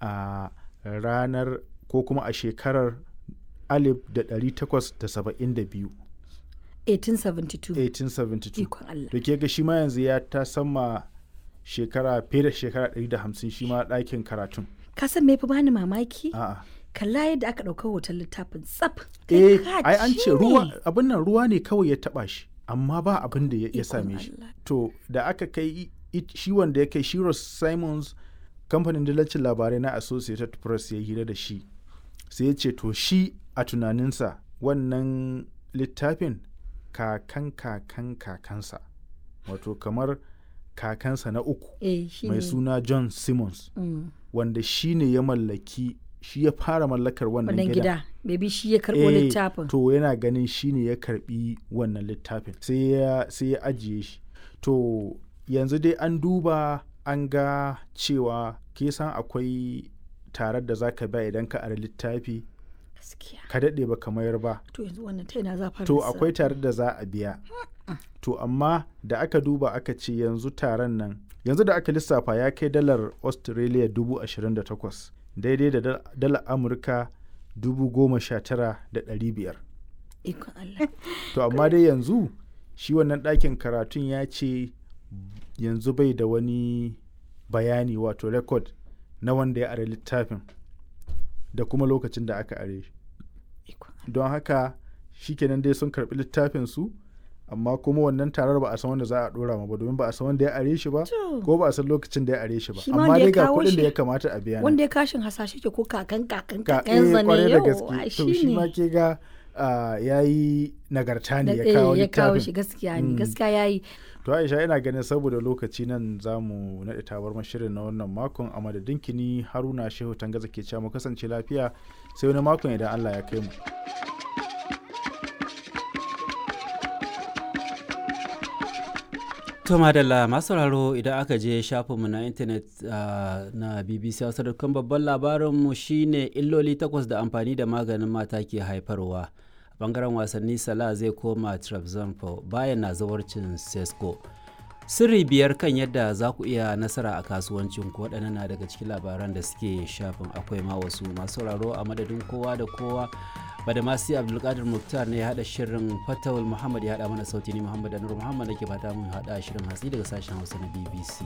A ranar ko kuma a shekarar 1872. 1872. 1872. Ikon Allah. To ke ga shi ma yanzu ya ta sama shekara fiye da shekara 150 shi ma ɗakin karatun. Ka san me fi bani mamaki? A'a. Kalla yadda aka ɗauka hoton littafin tsaf. Kai Eh, ka ai an ce ce ruwa ne. abin nan ruwa ne kawai ya taba shi, amma ba abin da ya Ikon same shi. Allah. To da aka kai shi wanda ya kai shi Ross Simons, kamfanin dillacin labarai na Associated Press ya hira da shi. Sai ya ce to shi a tunaninsa wannan littafin kakan kakan kakansa, wato kamar kakansa na uku Eh, shi mai ne. suna John Simmons, wanda shi ne ya mallaki, shi ya fara mallakar wannan Wannan gidan. gida. Maybe shi ya karɓo Eh, littafin. To yana ganin shi ne ya karbi wannan littafin sai ya ajiye shi. To yanzu dai an duba an ga cewa ke san akwai tarar da zaka biya idan ka ara littafi Gaskiya. ka daɗe ba ka mayar ba. To yanzu wannan ta ina za a fara To lissafi? akwai tarar da za a biya. To amma da aka duba aka ce yanzu taron nan yanzu da aka lissafa ya kai dalar Australia 28,000, daidai da dalar Amurka 19,500. Ikon Allah. To amma dai yanzu shi wannan ɗakin karatun ya ce yanzu bai da wani bayani, wato record na wanda ya are littafin da kuma lokacin da aka are shi. Ikon Allah. Don haka shikenan dai sun karɓi littafin su, amma kuma wannan tarar ba a san wanda za a ɗora ma ba, domin ba a san wanda ya are shi ba To. ko ba a san lokacin da ya are shi ba. Shi ma Amma wanda dai ya ga kawo kuɗin da shi- ya kamata a biya nan. Wanda ya kashin hasashe ke ko kakan kakan Ka kakansa eh, kwarai ne da yau. gaske. Ai, To shi ne. ma ke ga ya yi nagarta ne ya Eh, kawo ya kawo littafin. shi gaskiya ne, gaskiya yayi. To Aisha, ina ganin saboda lokaci nan za mu naɗe tabarmar shirin na wannan makon. A madadin kini Haruna Shehu Tangaza ke cewa mu kasance lafiya sai wani makon idan Allah ya kai mu. To madalla masu sauraro, idan aka je shafinmu na intanet na BBC Hausa.com, babban labarinmu shine illoli 8 da amfani da maganin mata ke haifarwa. A bangaren wasanni, Salah zai koma Trabzonspor bayan na zawarcin Sesko. Sirri 5 kan yadda za ku iya nasara a kasuwancin ku, waɗannan na daga cikin labaran da suke shafin, akwai ma wasu. Masu sauraro, a madadin kowa da kowa, Badamasi Abdulkadir Muktar ne ya haɗa shirin, Fatawul Muhammad ya haɗa mana sauti, ni Muhammad Anur Muhammad nake fata mun haɗa shirin hatsi daga sashen Hausa na BBC.